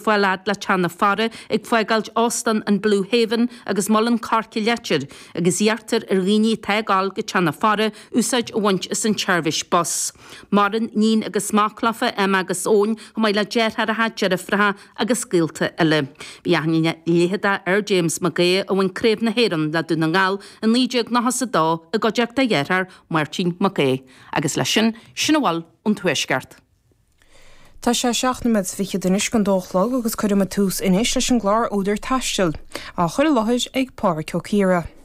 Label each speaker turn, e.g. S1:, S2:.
S1: Fáil fhad le Teach na Fara ag fágáilt Óstán an Blue Haven agus Muileann Coirce Leitir agus iarrtar ar dhaoine atá ag dul go Teach na Fara úsáid a bhaint as an tseirbhís bus. Maireann níon agus mac leofa, Emma agus Eoin, chomh maith le deartháireacha, deirfiúracha agus gaolta eile. Bhí aithne leitheadach ar James Mac Aodha a bhain Craobh na hÉireann le Dún na nGall i 1992 i gcuideachta a dhearthár Máirtín Mac Aodha. Agus leis sin, sin a bhfuil ón Tuaisceart.
S2: Tá sé seacht nóiméad is fichead anois don dó a chlog agus cuirfidh muid tús anois leis an gclár Údar Taistil, á chur i láthair ag Pádraig Ó Ciardha.